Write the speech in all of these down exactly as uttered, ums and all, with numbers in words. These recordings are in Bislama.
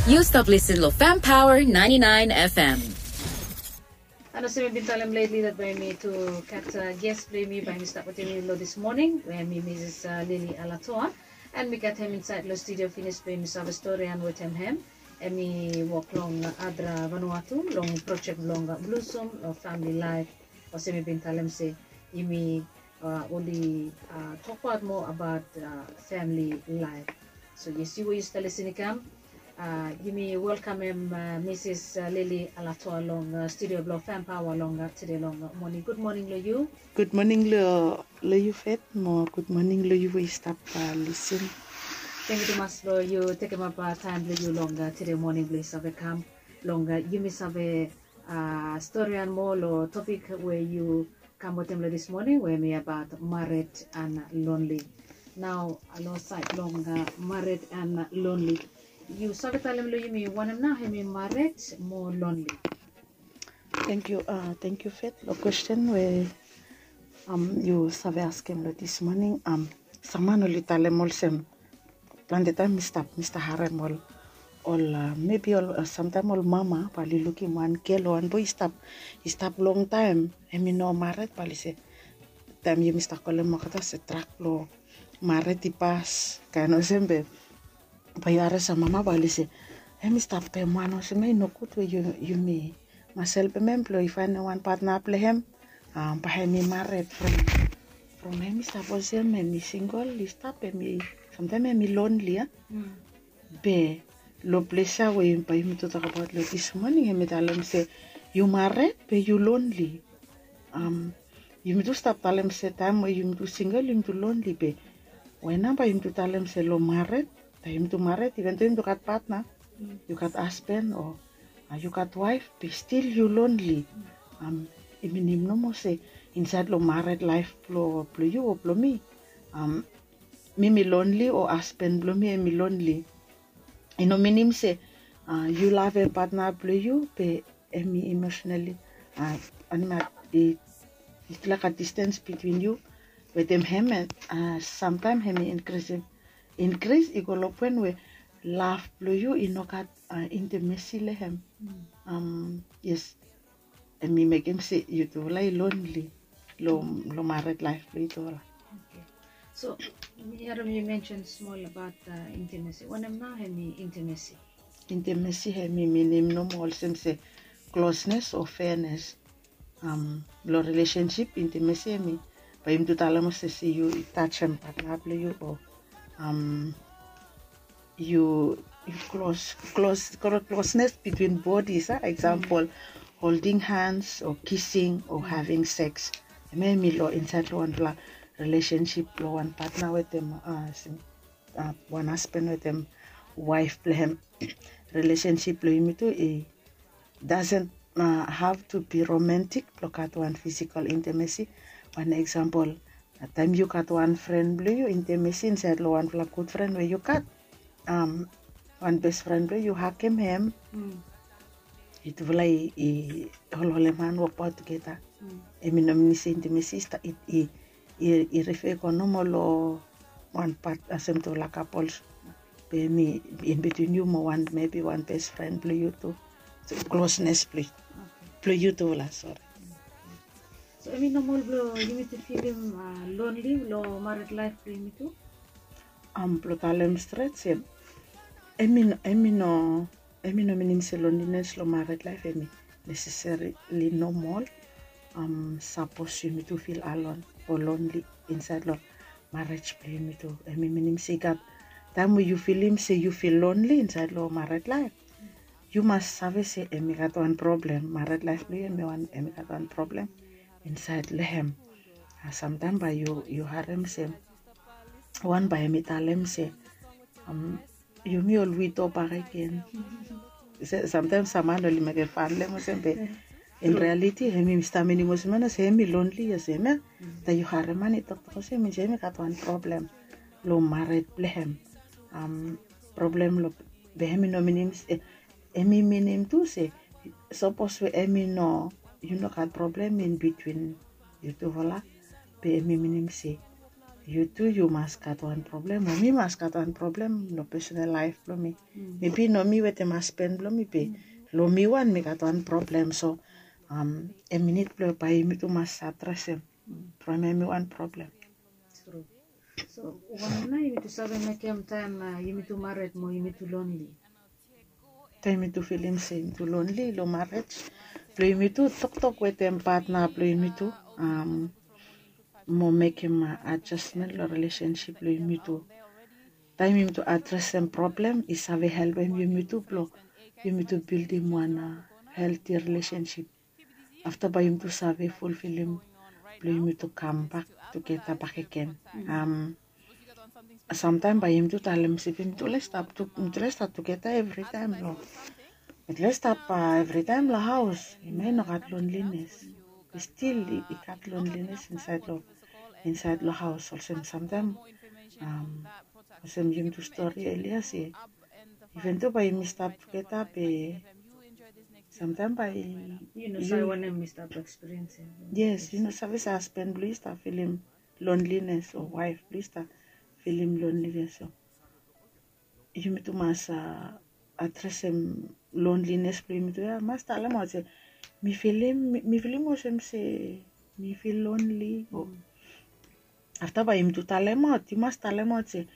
Yu stap lisin lo Fam Power ninety nine F M. Ano se mi bin talem lately that bae mi tu gat ges blong mi bae mi stap wetem mi lo this morning, we mi Mrs Lily Alatoa. And mi gat hem insaed lo studio finis blong mi save storian wetem hem. Hem i wok long Adra Vanuatu long project blong Blossom of Family Life. Olsem mi bin talem se yumi oli tokbaot moa abaot family life. So yu si we yu stap lisin i kam, yumi welkamem Mrs Lily Alatoa long studio blong Fam Power long tede long moning. Gud moning lo yu. Gud moning lo yu Feth, mo gud moning lo yu we yu stap lisin. Tangkiu tumas blong yu tekemap taem blong yu long tede moning blong yu save kam long yumi save storian moa lo topik we yu kam wetem lo this morning, we hem i abaot mared and lonely. Nao lo saed blong mared and lonely, yu save talem lo yumi wanem nao hem i mared mo lonely? Tangkiu, tangkiu Feth lo kwesten we yu save askem lo this moning. Sam man oli talem olsem, plante taem mi stap mi stap harem ol, ol mebi ol samtaem ol mama bae oli lukim wan gel o wan boe i stap, i stap longtaem hem i no mared, bae oli se, taem yumi stap kolem olgeta se drak blo mared i pas, kaen olsem. Be bae yu harem sam mama bae oli se, hem i stap pem wan olsem ya i nogud we yumi mas helpem hem blo i faenem wan patna blo hem. Bae hem i mared from, from hem i stap olsem hem i singel i stap hem i, samtaem hem i lonli ya. Be lo ples ya we bae yumi tu tokbaot lo this moning, hem i talem se yu mared be yu lonli. Yumi tu stap talem se taem we yumi tu singel yumi tu lonli, be we nao bae yumi tu talem se lo mared, taem yumi tu mared, iven do yumi tu gat patna, yu gat hasben o yu gat waef, be stil yu lonli. I minim nomo se insaed lo mared laef blo, blo yu o blo mi, mi mi lonli o hasben blo mi hem i lonli, i no minim se yu lavem patna blo yu be hem i emotionally, wanem ya, i, i feel like a distance between yu wetem hem. Samtaem hem i inkrisim, inkris i go lo poen we lav blo yu i no gat intimacy lo hem. Yes, hem i mekem se yutufala i lonli lo, lo mared laef blo yutufala. So mi harem yu mensen smol abaot intimacy. Wanem nao hem i intimacy? Intimacy hem i minim nomo olsem se closeness o fairness. Lo relationship, intimacy hem i bae yumi tu talem olsem se yu tajem patna blo yu o yu, yu close, close, closeness between bodies, a example holding hands o kissing o having sex. Hem ya hem i lo insaed lo wanfala relationship blo wan patna wetem, wan hasben wetem waef blo hem. Relationship blo yumi tu i doesn't have to be romantic blo gat wan physical intimacy. Wan example, taem yu gat wan fren blo yu, intimacy insaed lo wanfala gud fren we yu gat, wan best fren blo yu, yu hagem hem, yutufala i holholem han wokbaot tugeta. Hem i no minim se intimacy i, i, i refer i go nomo lo wan pat olsem tufala couples, be hem i in between yu mo wan, maybe wan best fren blo yu tu. So closeness blo, blo yutufala, sori. So hem i nomol blo yumi tu filim lonli lo mared laef blo yumi tu? Blo talem stret se hem i no, hem i no, hem i no minim se lonlines lo mared laef hem i necessarily nomol. Sapos yumi tu fil alon o lonli insaed lo marej blo yumi tu, hem i minim se i gat taem we yu filim se yu fil lonli insaed lo mared laef, yu mas save se hem i gat wan problem. Mared laef blo yu hem i wan, hem i gat wan problem insaed lo hem. Samtaem bae yu, yu harem se wan bae hem i talem se, yumi ol widow bakegen. Samtaem sam man oli mekem fan lo hem olsem, be in reality hem i stap minim olsem ya nao se hem i lonli olsem ya. Taem yu harem man i toktok olsem, i min se hem i gat wan problem lo mared blo hem. Problem lo, be hem i no minim se, hem i minim tu se sapos we hem i no, yu no gat problem in between yutufala, be hem i minim se yu tu yu mas gat wan problem o mi mas gat wan problem long personal laef blong mi. Mebi no mi wetem hasben blong mi be long mi wan mi gat wan problem. So em i nid blong bae yumi tu mas adresem from em i wan problem. So wanem nao yumi tu save mekem taem yumi tu mared mo yumi tu lonli? Taem yumi tu filim se yumi tu lonli long mared blong yumi tu toktok wetem patna blong yumi tu mo mekem adjasmen long rilesensip blong yumi tu. Taem yumi tu adresem problem i save helpem yumi tu blong yumi tu bildim wan helti rilesensip. Afta bae yumi tu save fulfilim blong yumi tu kambak tugeta bakegen. Samtaem bae yumi tu talem se be mi tu lae stap tu mi tu lae stap tugeta evritaem long mi tu lae stap evritaem long haos. Yumi i no gat lonlines. I stil i gat lonlines insaed long insaed long haos olsem samtaem olsem yumi tu stori elia se even tu bae yumi stap tugeta be samtaem bae yu no save wanem mi stap ekspiriensim. Yes yu no save se hasben blong yu stap filim lonlines o waef blong yu stap filim lonlines. So yumi tu mas adresem lonlines blong yumi tu ya mas talemaot se mi filim mi filim olsem se mi fil lonli o afta bae yumi tu talemaot yu mas talemaot se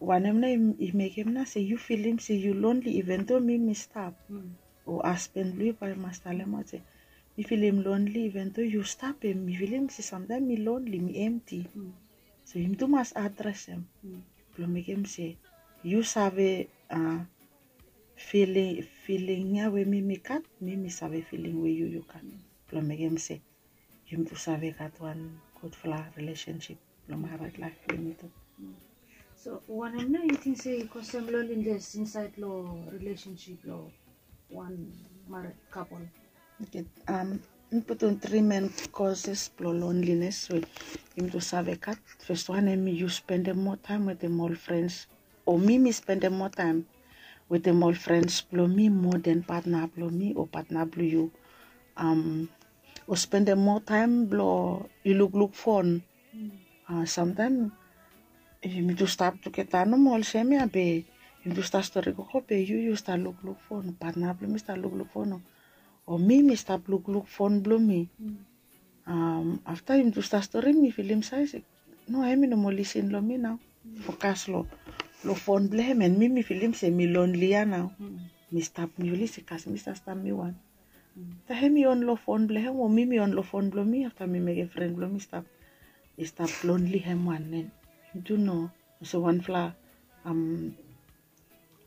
wanem nao i mekem nao se yu filim se yu lonli even tu mi mi stap o hasben blong yu bae i mas talemaot se mi filim lonli even tu yu stap be mi filim se samtaem mi lonli mi emti. So yumi tu mas adresem blong mekem se yu save filing ya we mi mi gat mi mi save filing we yu yu gat blong mekem se yumi tu save gat wan gudfala rilesensip long mared laef blong yumi tu. So wanem nao yu ting se i kosem lonlines insaed long rilesensip long wan mared kapol? Mi putum tri men koses blong lonlines we yumi tu save gat. Fes wan em yu spendem moa taem wetem ol frens o mi mi spendem moa taem wetem ol frens blong mi moa den patna blong mi o patna blong yu. O spendem moa taem blong yu lukluk fon. Samtaem yumi tu stap tugeta nomo olsem ya be yumi tu stap stori gogo be yu yu stap lukluk fon patna blong mi stap lukluk fon o mi mi stap lukluk fon blong mi. Afta yumi tu stap stori mi filim save se no em i no moa lisin long mi nao. Fokas long fon blong em en mi mi filim se mi lonli ya nao. Mi stap mi filim se kas mi stap stap mi wan. Afta em i on long fon blong em o mi mi on long fon blong mi afta mi mekem fren blong mi stap i stap lonli em wan nen. Yumi tu no olsem wanfala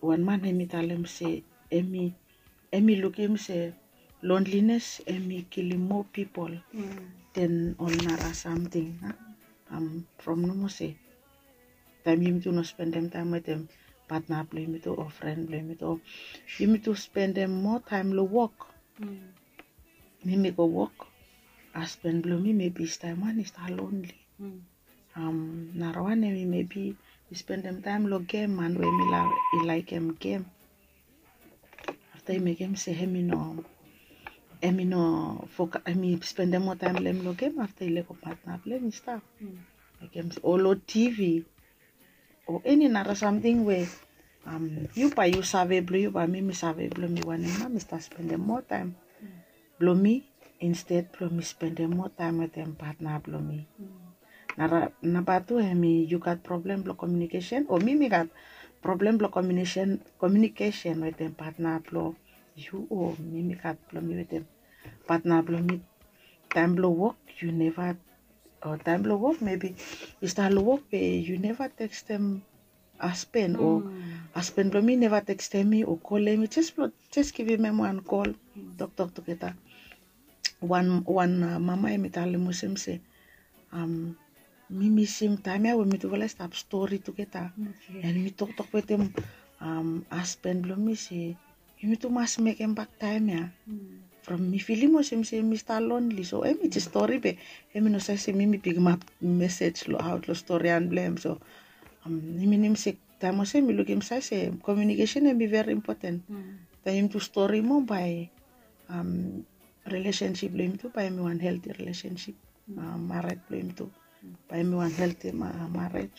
wan man em i talem se em i lukim se lonlines em i kilim moa pipol den ol nara samting. From nomo se taem yumi tu no spendem taem wetem patna blong yumi tu o fren blong yumi tu o yumi tu spendem moa taem long wok. Mi mi go wok hasben blong mi mebi i stap wan i stap lonli. Nara wan em i mebi i spendem taem long gem man we em i laekem gem. Afta i mekem se em i no em i no foka em i spendem moa taem long em long gem afta i lego patna blong em i stap. Mekem se o long tv o eni nara samting we yu bae yu save blong yu bae mi mi save blong mi wanem nao mi stap spendem moa taem blong mi insted blong mi spendem moa taem wetem patna blong mi. Nara namba tu em i yu gat problem blong kominikesen o mi mi gat problem blong kominikesen wetem patna blong yu o mi mi gat blong mi wetem patna blong mi. Taem blong wok yu neva o taem blong wok mebi yu stap long wok be yu neva tekstem hasben o hasben blong mi neva tekstem mi o kolem mi jes blong jes givim em wan kol toktok tugeta. Wan wan mama em i talem olsem se mi misim taem ya we mitufala i stap stori tugeta. En mi toktok wetem hasben blong mi se yumi tu mas mekem bak taem ya. From mi filim olsem se mi stap lonli so em i jes stori be em i no save se mi mi pikimap mesej long aot long stori han blong em so mi minim se taem olsem mi lukim save se kominikesen em i veri impoten. Taem yumi tu stori moa bae rilesensip blong yumi tu bae em i wan helti rilesensip maret blong yumi tu. Bae mi wan helti marej.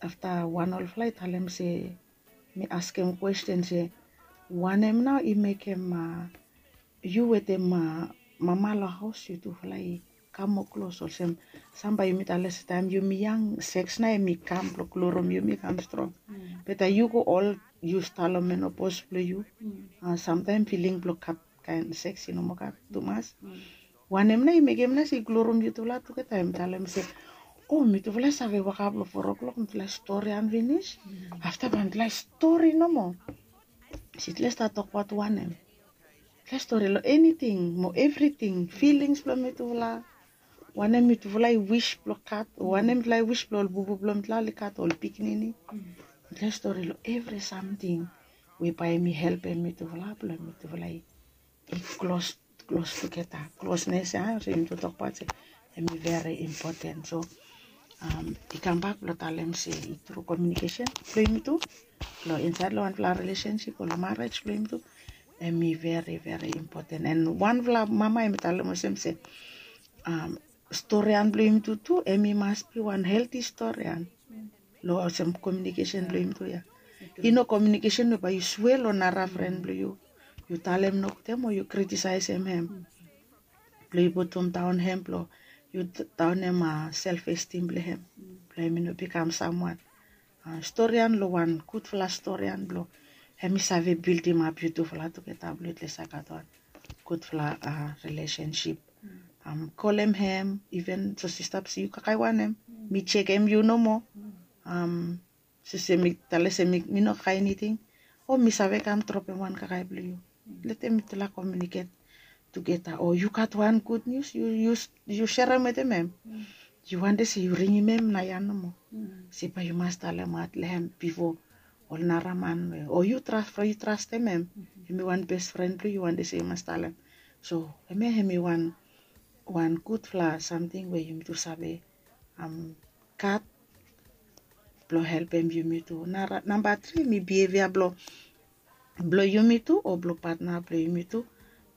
Afta wan olfala i talem se, mi askem kwesten se, wanem nao i mekem yu wetem mama long haos yutufala i kam moa klos olsem, sam bae yumi talem se taem yumi yang seks nao hem i kam blong klorum yumi kam strong. Be taem yu go ol yu stap long menopos blong yu, samtaem filing blong kat kaen seks i no moa gat tumas. Wanem nao i mekem nao se i klorum yutufala tugeta hem i talem se, o mitufala i save waka blong fo klok mitufala i stori han finis. Afta bae mitufala i stori nomo se mitufala i stap tokbaot wanem. Mitufala i stori long eniting mo evriting, filings blong mitufala, wanem mitufala i wis blong kat o wanem mitufala i wis blong ol bubu blong mitufala oli kat o ol pikinini. Mitufala i stori long evri samting we bae hem i helpem mitufala blong mitufala i klos, klos tugeta. Klosnes ya olsem yumi tu tokbaot se hem i veri impoten. So i kambak blong talem se i tru komiunikesen blong yumi tu long insaed long wanfala rilesensip o long marej blong yumi tu hem i veri veri impoten. En wanfala mama hem i talem olsem se storian blong yumi tu tu hem i mas bi wan helti storian long olsem komiunikesen blong yumi tu ya. I no komiunikesen we bae yu swe long nara fren blong yu, yu talem nogut hem o yu kritisaesem hem blong yu putum daon hem blong yu daonem self estim blong hem blong hem i no bikam samwan. Storian long wan gudfala storian blong hem i save bildimap yutufala tugeta blong yutufala i save gat wan gudfala rilesensip. Kolem hem iven so sista blong yu kakae wanem, mi jekem yu nomo. Sese mi talem se mi no kakae eniting o mi save kam dropem wan kakae blong yu. Letem mitufala komiuniket tugeta o yu gat wan gud nius yu serem wetem hem. Yu wantem se yu ringim hem naoia nomo. Se bae yu mas talemaot long hem bifo ol nara man we o yu tras from yu trastem hem, hem i wan bes fren blong yu wantem se yu mas talem. So hemia hem i wan gudfala samting we yumi tu save gat blong helpem yumi tu. Nara namba tri hem i bihevia blong blong yumi tu o blong patna blong yumi tu.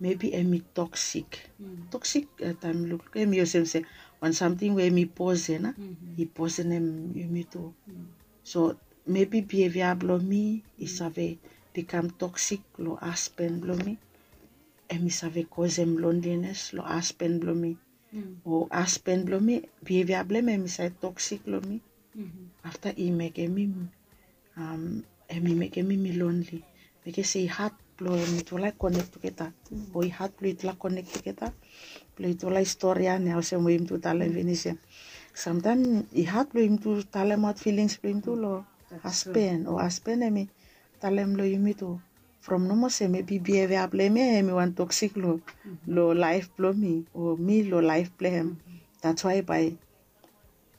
Mebi hem i toksik. Toksik taem mi lukluk hem i olsem se wan samting we hem i posen a i posenem yumi tu. So mebi bihevia blong mi i save bikam toksik long hasben blong mi. Hem i save kosem lonlines long hasben blong mi o hasben blong mi. Bihevia blong hem hem i save toksik long mi. Afta i mekem mi hem i mekem mi mi lonli. Mekem se i had blong mitufala i konek tugeta o i had blong yutufala konek tugeta blong yutufala i stori ya nao olsem we yumi tu talem finis ya. Samtaem i had blong yumi tu talemaot filings blong yumi tu long hasben o hasben hem i talem long yumi tu from nomo se mebi bihevia blong hem ya hem i wan toksik long laef blong mi o mi long laef blong hem. That's why bae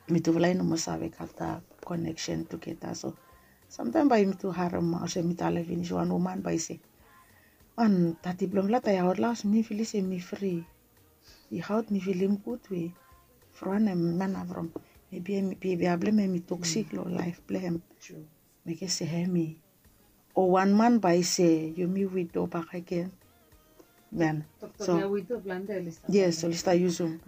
mitufala i no moa save gat koneksen tugeta. So samtaem bae yumi tu harem olsem mi talem finis wan woman bae i se wan tati blong mifala taem i aot long haos mi filim se mi fri. I aot mi filim gud we from wanem man na from mebi hem i bihevia blong hem hem i toksik long laef blong hem. Mekem se hem i o wan man bae i se yumi wido bakegen. Yes oli stap yusum.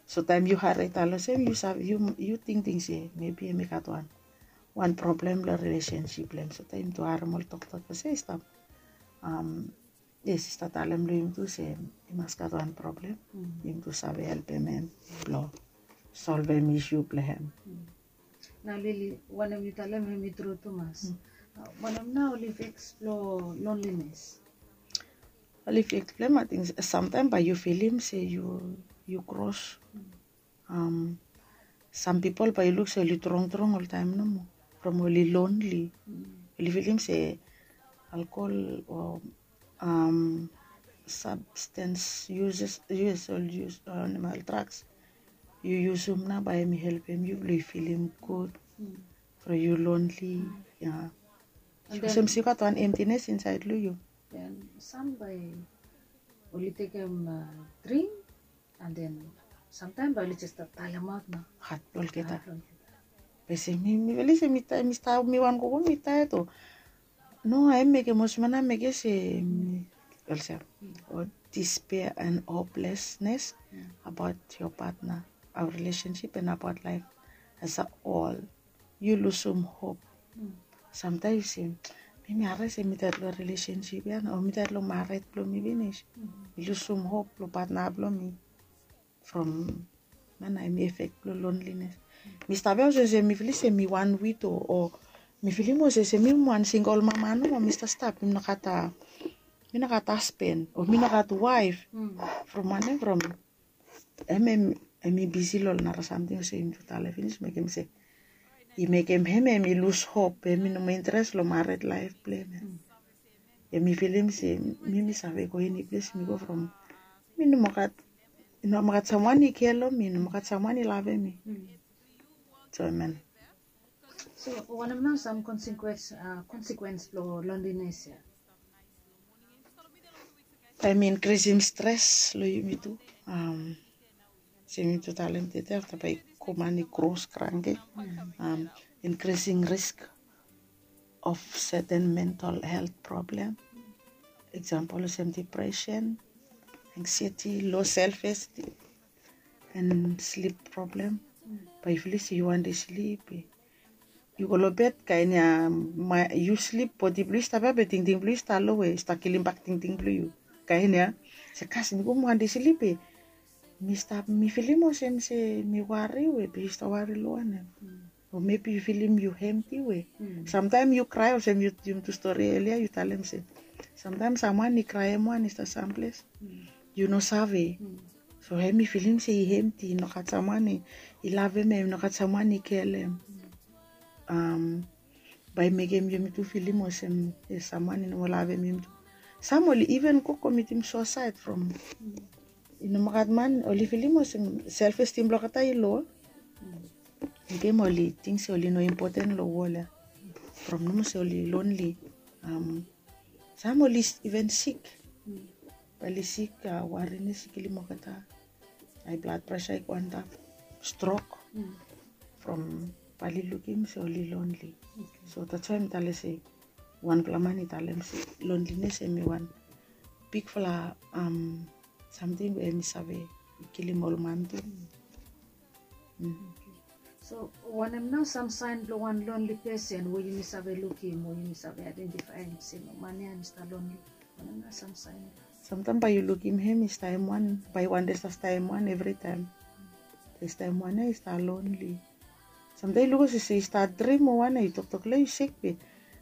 So taem yu harem i talem olsem yu tingting se mebi hem i gat wan wan problem long rilesensip blong hem. So taem yumi tu harem ol toktok olsem i stap yes i stap talem long yumi tu se i mas gat wan problem. Yumi tu save helpem hem blong solvem isu blong hem. Nao lili wanem yu talem hem i tru tumas. Wanem nao ol ifeks blong lonlines? Ol ifeks blong hem ating samtaem bae yu filim se yu kros. Sam pipol bae yu luk se oli strongstrong oltaem nomo from oli lonli. Oli filim se alkol o sabstens yuses ol yus animal draks yu yusum nao bae hem i helpem yu blong yu filim gud. From yu lonli ya. Olsem se yu gat wan emtines insaed long yu. Sam bae oli tekem dring an den samtaem bae oli jes stap talemaot nao hat blong olgeta. Be se mi mi fili se mi taem mi stap mi wan gogo mi taet o no em mekem olsem ana mekem se mi olsem o dispea an hoplesnes abaot yo patna. our relationship and about life as a whole. Yu lusum hop. Samtaem yu se, mi mi hares se mi tait long relationship ya o mi tait long maret blong mi finis. Mi lusum hop long patna blong mi. From man na em i efek blong lonlines. Mi stap ya olsem se mi filis se mi wan wito o mi filim olsem se mi wan singol mama nomo mi stap stap mi no gat a mi no gat hasben o mi no gat waef. From wanem from em em em i bisi long ol nara samting olsem yumi tu talem finis mekem se i mekem em em i lus hop em i no moa interes long maret laef blong em. Em i filim se mi mi save go eni ples mi go from mi no moa gat i no moa gat samwan i kel long mi i no moa gat samwan i lavem mi. So amen. So wanem nao sam konsekuens konsekuens blong lonlines ya? Bae mi inkrisim stres long yumi tu. Olsem yumi tu talem tete afta bae i go man i gros kranke. Inkrising risk of seten mental helt problem. Eksampol olsem depresen, anksieti, lo self estim, en slip problem. Bae yu filis yu wande slip. Yu go long bet kaen ya yu slip bodi blong yu i stap ya be tingting blong yu i stap lo we i stap kilim bak tingting blong yu. Kaen ya se kas mi go mi wande slip e mi stap mi filim olsem se mi wari we be yu stap wari long wanem? O mebi yu filim yu hemti we samtaem yu krae olsem yumi tu stori elia yu talem se samtaem samwan i kraem wan i stap samples yu no save. So hem i filim se i hemti i no gat samwan i lavem hem i no gat samwan i kelem. Bae i mekem yumi tu filim olsem samwan i no moa lavem yumi tu. Sam oli iven go komitim suasaed from i no moa gat man oli filim olsem self esteem blong olgeta i lo. Mekem oli ting se oli no impoten long wol ya. From nomo se oli lonli. Sam oli iven sik. Bae oli sik a warin i sikilim olgeta. Ai blad presa i go antap strok. From bae oli lukim se oli lonli. So that's why mi talem se wanpela man i talem se lonlines em i wan bikfala samting we em i save kilim ol man tu. So wanem nao sam saen blong wan lonli pesen we yumi save lukim o yumi save aidentifaem se no man ya em i stap lonli? Wanem nao sam saen? Samtaem bae yu lukim hem i stap em wan bae wan de stap stap em wan evritaem. Stap em wan ya i stap lonli. Samtaem yu luk olsem se i stap drim o wan ya i toktok long yu sik be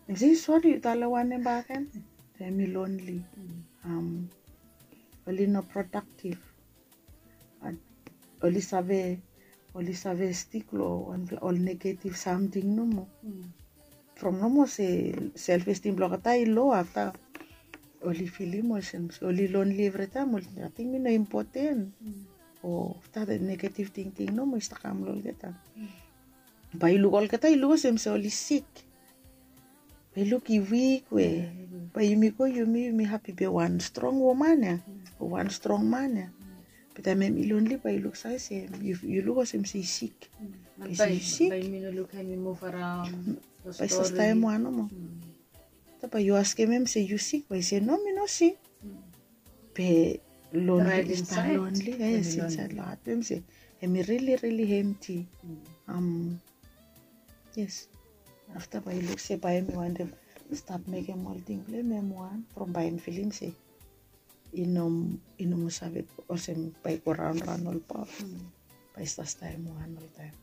em se sori yu talem wanem baken. Taem i lonli. Oli no prodaktiv. Oli save oli save stik long wanpela ol negetiv samting nomo. From nomo se self esteem blong olgeta i lo afta oli filim olsem se oli lonli evritaem oli ating mi no impoten. O afta negetiv tingting nomo i stap kam long olgeta. Bae yu luk olgeta yu luk olsem se oli sik. Bae yu luk i wik we bae yumi go yumi yumi hapi be wan strong woman ya o wan strong man ya. Be taem em i lonli bae yu luksave se yu luk olsem se i sik. Be se yu sik. Bae yu stap taem wan nomo. Afta bae yu askem em se yu sik bae i se no mi no sik. Be lonli i stap lonli yes insaed long hat blong em se em i rili rili hemti. Yes. Afta bae i luk se bae em i wantem stap mekem ol ting blong em em wan from bae em filim se i no i no moa save olsem bae i go raon raon ol pawa. Bae i stap stap em wan oltaem.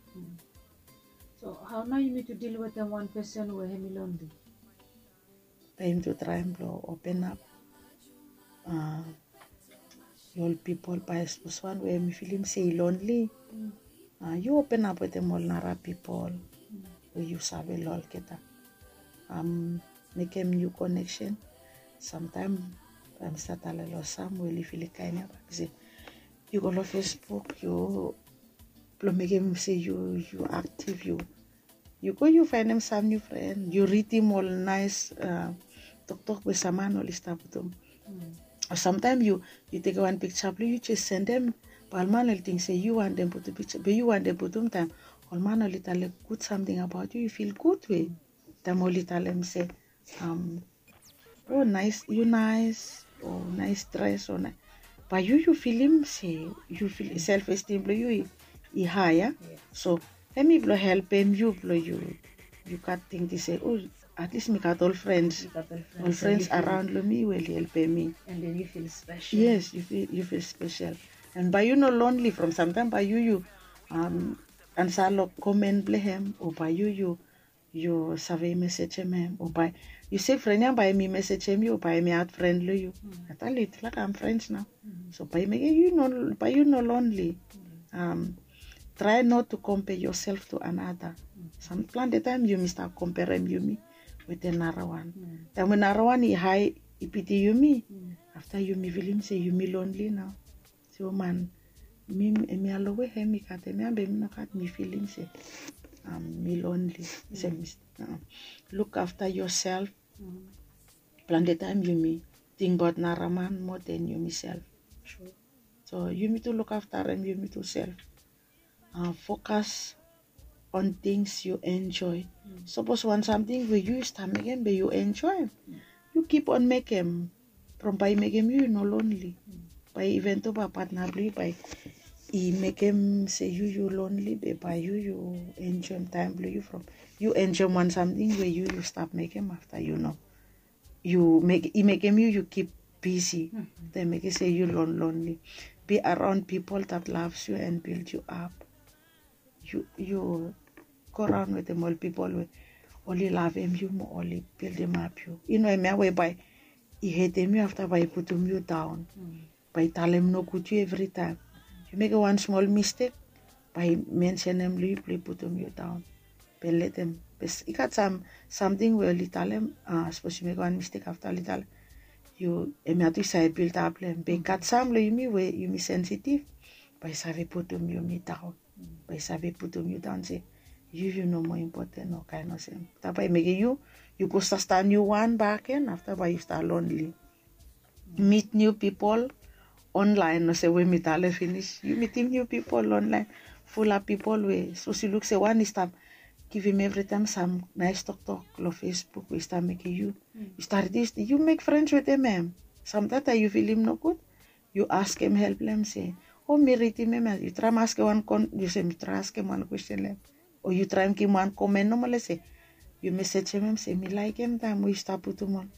So hao nao yumi tu dil wetem wan pesen we em i lonli? Taem tu traem blong openap long ol pipol bae sapos wan we em i filim se i lonli. Yu openap wetem ol nara pipol we yu save long olgeta. Mekem niu koneksen. Samtaem bae mi save talem long sam we oli filim kaen ya bae mi se yu go long fesbuk yu blong mekem se yu yu aktiv yu yu go yu faenem sam niu fren yu ridim ol naes toktok we sam man oli stap putum. O samtaem yu yu tekem wan piksa blong yu jes sendem. Bae ol man oli ting se yu wantem putum piksa be yu wantem putum taem ol man oli talem gud samting abaot yu yu fil gud we taem oli talem se o naes yu naes o naes dres o naes. Bae yu yu filim se yu fil self esteem blong yu i i hae ya. So hemi blong helpem yu blong yu yu gat tingting se, o, atlis mi gat ol frens, ol frens araon long mi we oli helpem mi. Yes, yu fil spesel. And bae yu no lonli from samtaem bae yu yu ansa long komen blong hem o bae yu yu yu save mesejem hem o bae yu se fren ya bae hemi mesejem yu o bae hemi add fren long yu. Atal yutufala kam frens nao. So bae yu mekem yu no bae yu no lonli. Trae not tu kompe yosef tu anata. Sam plante taem yumi stap komperem yumi wetem narawan. Taem we narawan i hae i piti yumi, afta yumi filim se yumi lonli nao. So man mi hemia long we hem i gat hemia be mi no gat mi filim se mi lonli. Se mi luk afta yosef. Plante taem yumi tingbaot nara man moa den yumisef. So yumi tu luk aftarem yumi tu sef. Fokas on tings yu enjoe. Sapos wan samting we yu stap mekem be yu enjoem, yu kip on mekem. From bae i mekem yu yu no lonli. Bae iven tu bae patna blong yu bae i mekem se yu yu lonli be bae yu yu enjoem taem blong yu from yu enjoem wan samting we yu yu stap mekem afta yu no yu mek i mekem yu yu kip bisi. Te mekem se yu lonlonli. Be araon pipol dat lavs yu and bild yu ap. Yu go raon wetem ol pipol we oli lavem yu mo oli bildimap yu. I no hemia we bae i hetem yu afta bae i putum yu daon. Bae i talem nogud yu evritaem. Yu mekem wan smol mistek bae i mensenem long yu blong i putum yu daon. Be letem be i gat sam samting we oli talem, sapos yu mekem wan mistek afta oli talem yu hemia tu i save bildap long hem. Be i gat sam long yumi we yumi sensitif bae i save putum yumi daon. Bae i save putum yu daon se yu yu no moa impoten o kaen olsem. Afta bae i mekem yu yu go sastan yu wan baken afta bae yu stap lonli. Mit niu pipol onlaen olsem we mi talem finis yu mitim niu pipol onlaen. Fulap pipol we sapos yu luk se wan i stap givim evritaem sam naes toktok long fesbuk we i stap mekem yu yu stap ridim yu mek frens wetem hem. Samtaem taem yu filim nogud yu askem help long hem se, o mi ridim hemia yu traem askem wan kon yu se mi traem askem wan kwesten long hem. O yu traem givim wan komen nomo long hem se yu mesejem hem se mi laekem taem we yu stap putum ol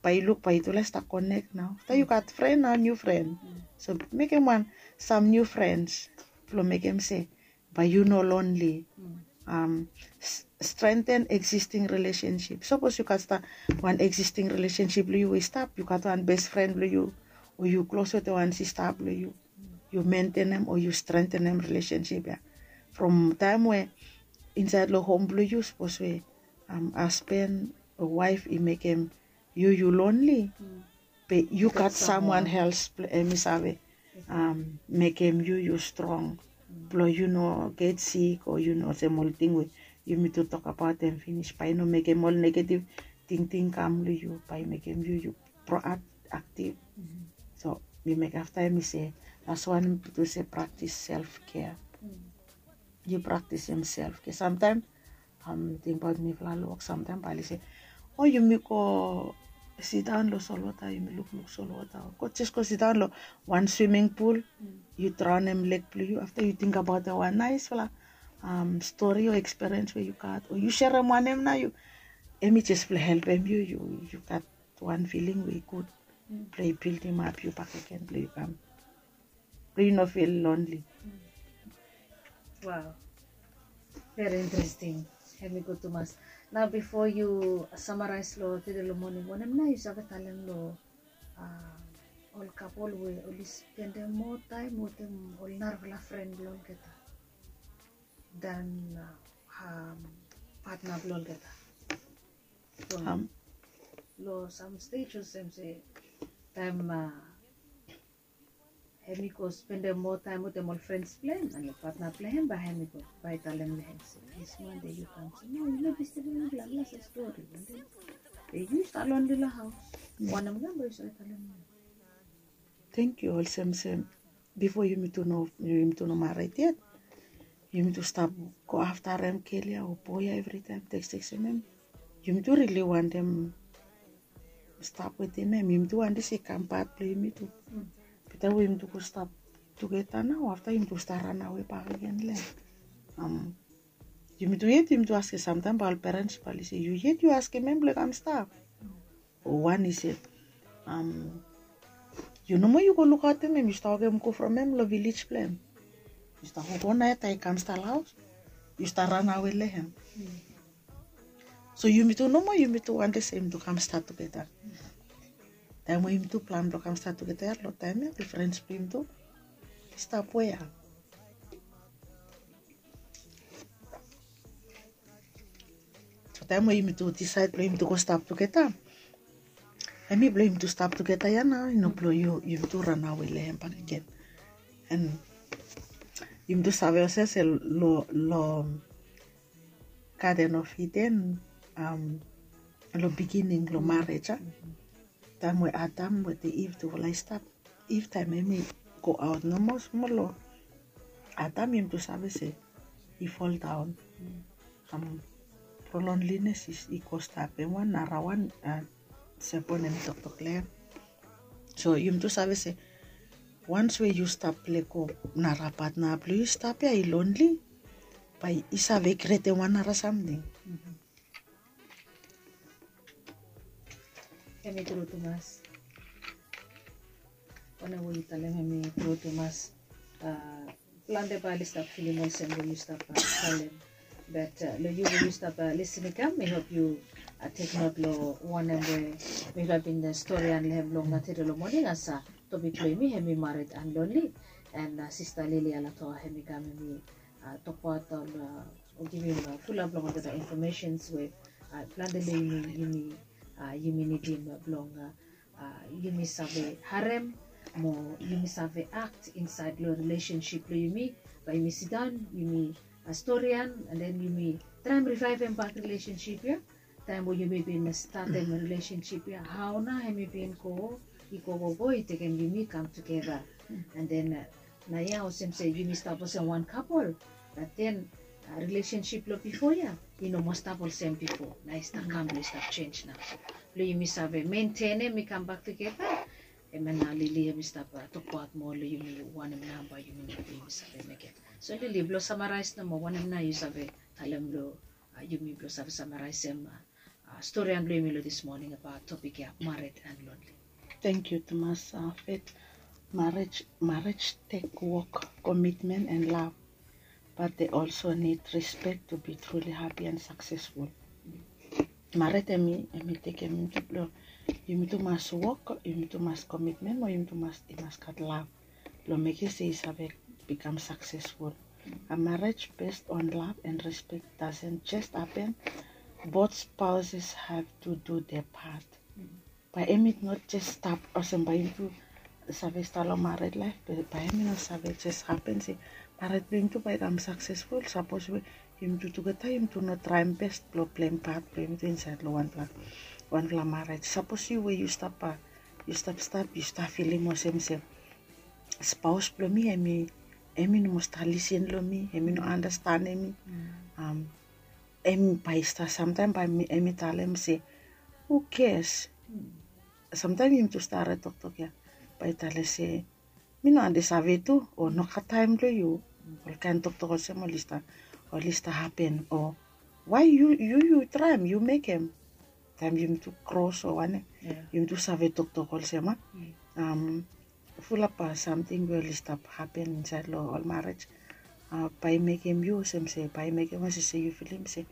bae yu luk bae yutufala i stap konek nao afta yu gat fren nao niu fren. So mekem wan sam niu frens blong mekem se bae yu no lonli. Strengten existing relationship sapos yu gat sta wan existing relationship blong yu we i stap yu gat wan best fren blong yu o yu klos wetem wan sista blong yu yu mentenem o yu strentenem relationship ya. From taem we insaed long hom blong yu sapos we hasben o waef i mekem yu yu lonli be yu gat samwan hels blong hem i save mekem yu yu strong blong yu no get sik o yu no olsem ol ting we yumi tu tokbaot hem finis bae i no mekem ol negetiv tingting kam long yu bae i mekem yu yu proaktiv. So mi mekem afta hem i se las wan mi tu se praktis self kea. Yu praktisim self kea samtaem tingbaot mifala long wok samtaem bae oli se o yumi go sidaon long solwota yumi lukluk solwota o go jes go sidaon long wan swiming pul. Yu draonem lek blong yu afta yu tingbaot wan naesfala stori o ekspiriens we yu gat o yu serem wanem nao yu hem i jes blong helpem yu yu gat wan filing we i gud blong i bildimap yu bakegen blong yu kam blong yu no fil lonli. Wow. Veri interesting. Hem i gud tumas. Nao bifo yu samaraes long tede long moning wanem nao yu save talem long ol kapol we oli spendem moa taem wetem ol narafala fren blong olgeta dan patna blong olgeta. Long sam stej olsem se taem hem i go spendem moa taem wetem ol frens blong hem and ol patna blong hem bae hem i go bae i talem long hem se dis mande yu kam se no yu no be stap long mipela mipela save stori. Be yu stap lonli long haos wanem kam bae yu save talem long hem. Tenkyu olsem se bifo yumi tu no yumi tu no mared yet yumi tu stap go aftarem gel ya o boe ya evritaem teksteksem hem. Yumi tu rili wantem stap wetem hem yumi tu wantem se i kam pat blong yumi tu. Be taem we yumi tu go stap tugeta nao, afta yumi tu stap ranawe bakegen long hem. Yumi tu yet yumi tu askem, samtaem bae ol perens bae oli se, yu yet yu askem hem blong i kam stap? O wan i se, yu nomo yu go lukaotem hem, yu stap wokem go from hem long vilej blong hem. Yu stap go go naet, taem i kam stap long haos yu stap ranawe long hem. So yumi tu nomo yumi tu wantem se yumi tu kam stap tugeta. Taem we yumi tu plan blong kam stap tugeta ya, long taem ya difrens blong yumi tu i stap we ya. So taem we yumi tu disaed blong yumi tu go stap tugeta, hemi blong yumi tu stap tugeta ya nao, i no blong yumi tu ranawe long hem bakegen. And yumi tu save olsem se long Garden of Eden, long beginning long marej ya, taem we Adam wetem Iv tufala i stap, Iv taem hemi go aot nomo smol long Adam, yumi tu save se i foldaon. Long lonlines i go stap, hemia wan nara wan sepon hemi toktok long hem. So yumi tu save se wans we yu stap lego nara patna blong yu stap ya i lonli, bae i save krietem wan nara samting. Hemi tru tumas. Wanem we yu talem hemi tru tumas. Plante bae oli stap filim olsem we yu stap talem. Bat long yu we yu stap lisin i kam, mi hop yu tek not long wanem we mifala bin storian long hem long tede long moning, as topik blong yumi hemi mared and lonli. And Sista Lily Alatoa hemi kam, hemi tokbaot ol, o givim fulap long olgeta infomesens we plante long yumi, yumi nidim blong yumi save harem mo yumi save akt insaed long rilesensip blong yumi. Bae yumi sidaon, yumi storian, and then yumi traem rivaevem bak rilesensip ya. Taem we yumi bin statem rilesensip ya, hao nao hemi bin go, i go go go i tekem yumi kam tugeta. And then naoia olsem se yumi stap olsem wan kapol. Bat then rilesensip blong bifo ya i no moa stap olsem bifo, nao i stap kam blong i stap jenis nao. Blong yumi save mentenem i kambak tugeta. Hemia nao Lily hemi stap tokbaot moa long yumi wanem nao bae yumi, yumi save mekem. So Lily, blong samaraes nomo, wanem nao yu save talem long yumi blong save samaraesem storian blong yumi long dis moning abaot topik ya, mared and lonli. Tangkiu tumas, Fet. Marej, marej tek wok, komitmen and lav. But they also need respect to be truly happy and successful. Mared hemi, hemi tekem yumi tu blong yumi tu mas wok, yumi tu mas komitmen, mo yumi tu mas, i mas gat lav blong mekem se i save bikam saksesful. A marriage based on love and respect doesn't just happen. Both spouses have to do their part. Bae hemi no jes stap olsem bae yumi tu save stap long mared laef, be bae hemi no save jes hapen se mared blong yumi tu bae i kam saksesful sapos we yumi tu tugeta yumi tu no traem bes blong pleim pat blong yumi tu insaed long wanfala, wanfala mared. Sapos yu we yu stap, yu stap stap, yu stap filim olsem se spaos blong mi hemi, hemi no moa stap lisin long mi, hemi no andastanem mi. Hemi bae i stap, samtaem bae hemi talem se, who cares? Samtaem yumi tu stap ret toktok ya, bae i talem se, mi no ante save tu, o no gat taem blong yu. Olkaen toktok olsem oli stap, oli stap hapen, o wae yu, yu, yu traem, yu mekem. Taem yumi tu kros o wanem, yumi tu save toktok olsem a fulap samting we oli stap hapen insaed long ol marej. Bae i mekem yu olsem se, bae i mekem olsem se yu filim se,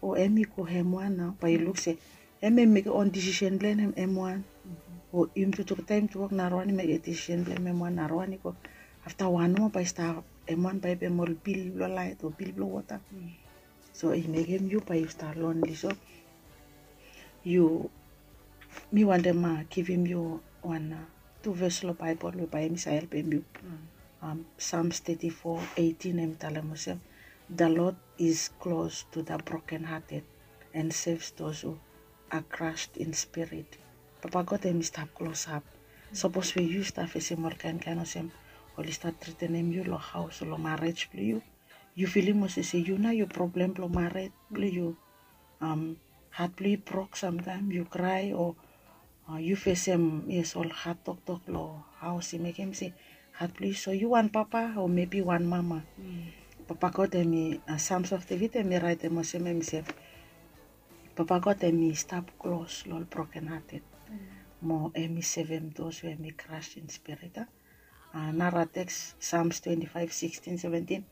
o hemi go hem wan nao, bae i luk se hemi mekem on disisen blong hem, hem wan. O yumi tu toktok taem yumi tu wok, narawan i mekem disisen blong hem, hem wan, narawan i go. Afta wan nomo bae i stap hem wan, bae i pem ol bil blong laet o bil blong wota. So i mekem yu bae yu stap lonli. So yu, mi wantem givim yu wan tu ves long Baebol we bae hemi save helpem yu. Psalms thirty-four eighteen hemi talem olsem, the Lord is close to the broken hearted and saves those who are crushed in spirit. Papa God hemi stap klosap. Sapos we yu stap fesem ol kaenkaen olsem oli stap tretenem yu long haos o long marej blong yu, yu filim olsem se yu nao yu problem blong mared blong yu. Hat blong yu brok, samtaem yu krae o yu fesem, yes, ol had toktok long haos i mekem se hat blong yu, so yu wan papa o mebi wan mama. Papa God hemi, Psalms of David hemi raetem olsem, hemi se, Papa God hemi stap klos long ol broken hearted, mo hemi sevem dos we hemi kras in spirit. Nara teks, Psalms twenty five sixteen seventeen,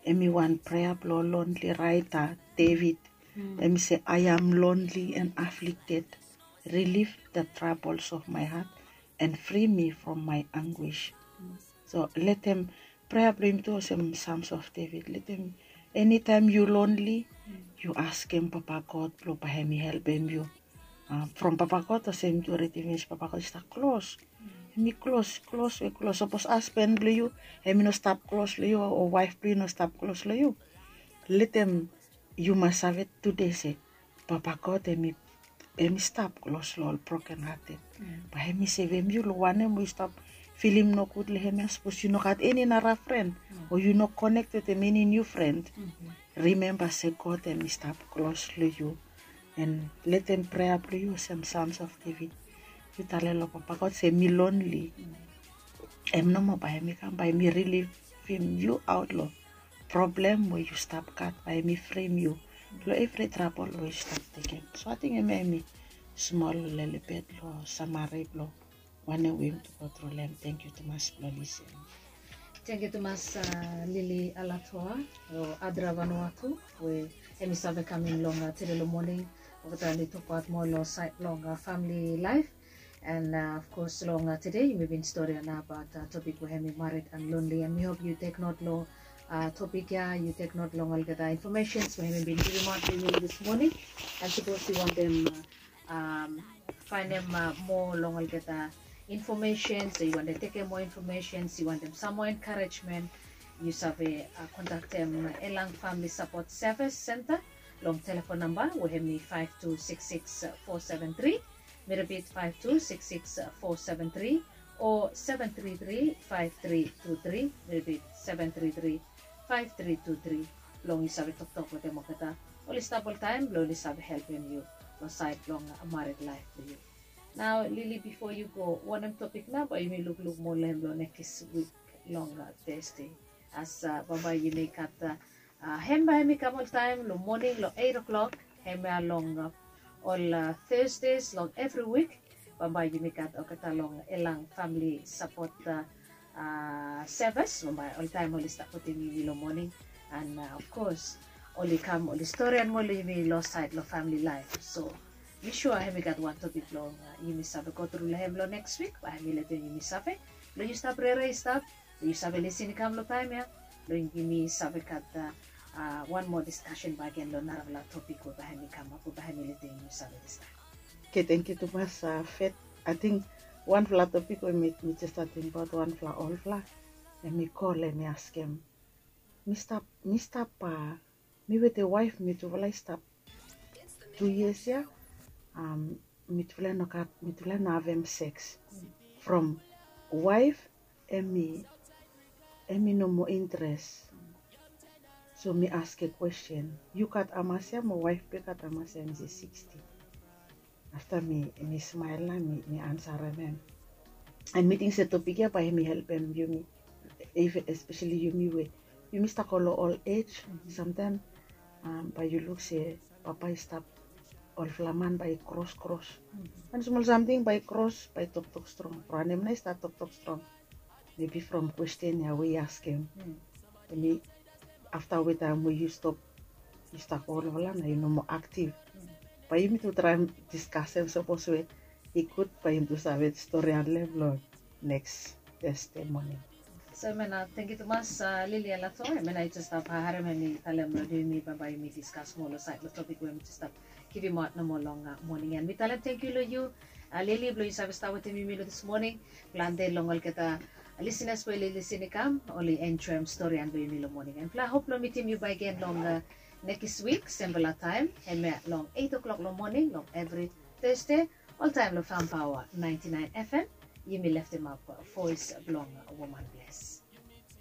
hemi wan prea blong lonli raeta David. Hemi se, I am lonely and afflicted. Relieve the troubles of my heart and free me from my anguish. So letem prea blong yumi tu olsem Psalms of David, letem enitaem yu lonli, yu askem Papa God blong bae hemi helpem yu. From Papa God olsem tu, redi finis, Papa God i stap klos. Hemi klos, klos we klos. Sapos hasben blong yu hemi no stap klos long yu, o waef blong yu no stap klos long yu, letem yu mas save tude se Papa God hemi, hemi stap klos long ol broken hearted. Bae hemi sevem yu long wanem we yu stap filim nogud long hem ya, sapos yu no gat eni nara fren, o yu no konek wetem eni niu fren. Rimemba se God hemi stap klos long yu. An letem prea blong yu olsem Psalms of David. Yu talem long Papa God se mi lonli. Hem nomo bae hemi kam, bae hemi rilivim yu aot long problem we yu stap gat, bae hemi frim yu long evri trabol we yu stap tekem. So ating hemia hemi smol lelebet long samari blong wanem we yumi tu go tru long hem. Tangkiu tumas blong lisin. Tangkiu tumas, Lily Alatoa long Adra, Vanuatu, we hemi save kamem long tede long moning. Olgeta hemi tokbaot moa long saed blong famili laef. An of kos long tede yumi bin storian abaot topik we hemi mared an lonli. An mi hop yu tek not long topik ya, yu tek not long olgeta infomesens we hemi bin givimaot long yumi dis moning. An sapos yu wantem faenem moa long olgeta infomesens, o yu wantem tekem moa infomesens, yu wantem sam moa enkarejmen, yu save kontaktem Elang Famili Sapot Sevis Senta long telefon namba we hemi faef tu sikis sikis fo seven tri. Mi ripit, faef tu sikis sikis fo seven tri o seven tri tri faef tri tu tri. Mi ripit, seven tri tri faef tri tu tri. Blong yu save toktok wetem olgeta oli stap oltaem blong oli save helpem yu long saed blong mared laef blong yu. Nao Lily, bifo yu go, wanem topik nao bae yumi lukluk moa long hem long nekis wik long Thursday? As bambae yumi gat, hem bae hemi kam oltaem long moning long eight o'clock, hemia long ol Thursdays long evri wik. Bambae yumi gat olgeta long Elang Famili Sapot Sevis, bambae oltaem oli stap wetem yumi long moning. An of kos oli kam oli storian moa long yumi long saed long famili laef. So mi sua hemi gat wan topik blong yumi save go tru long hem long nekis wik, bae hemi letem yumi save blong yu stap rere i stap, yu save lisin i kam long taem ya blong yumi save gat wan moa diskasen bakegen long narafala topik we bae hemi kamap, we bae hemi letem yumi save diskasen. Oke, tangkiu tumas, Fet. Ating wanfala topik we mi jes save tingbaot, wanfala olfala, hemi kol, hemi askem, mi stap, mi stap mi wetem waef mitufala i stap tu yias ya, mitufala i no gat, mitufala i no havem seks. From waef hemi, hemi no moa intres. So mi askem kwesten, yu gat hamas ya mo waef blong yu gat hamas ya? Hemi se sixty. Afta mi, mi smael nao mi ansarem hem. An mi ting se topik ya bae hemi helpem yumi, espeseli yumi we yumi stap go long ol ej. Samtaem bae yu luk se papa i stap, olfala man bae i kros kros. Wan smol samting bae i kros, bae i toktok strong. From wanem nao i stat toktok strong? Mebi from kwesten ya we i askem. Hemi afta we taem we yu stop, yu stap olfala nao yu no moa aktif. Bae yumi tu traem diskasem sapos we i gud bae yumi tu save storian long hem long nekis Thursday moning. So hemia nao, tangkiu tumas, Lily Alatoa. Hemia nao yu jes stap harem hemi talem long yumi bambae yumi diskas moa long saed long topik we mi jes stap givimaot nomo long moning ya. An mi talem tangkiu long yu, Lily, blong yu save stap wetem yumi long dis moning. Plante long olgeta lisinas we oli lisin i kam, oli enjoem storian blong yumi long moning. An mifala hop blong mitim yu bakegen long nekis wik semfala taem, hemia long eight o'clock long moning long evri Thursday, oltaem long Farm Power ninety nine F M. Yumi leftemap voes blong woman blong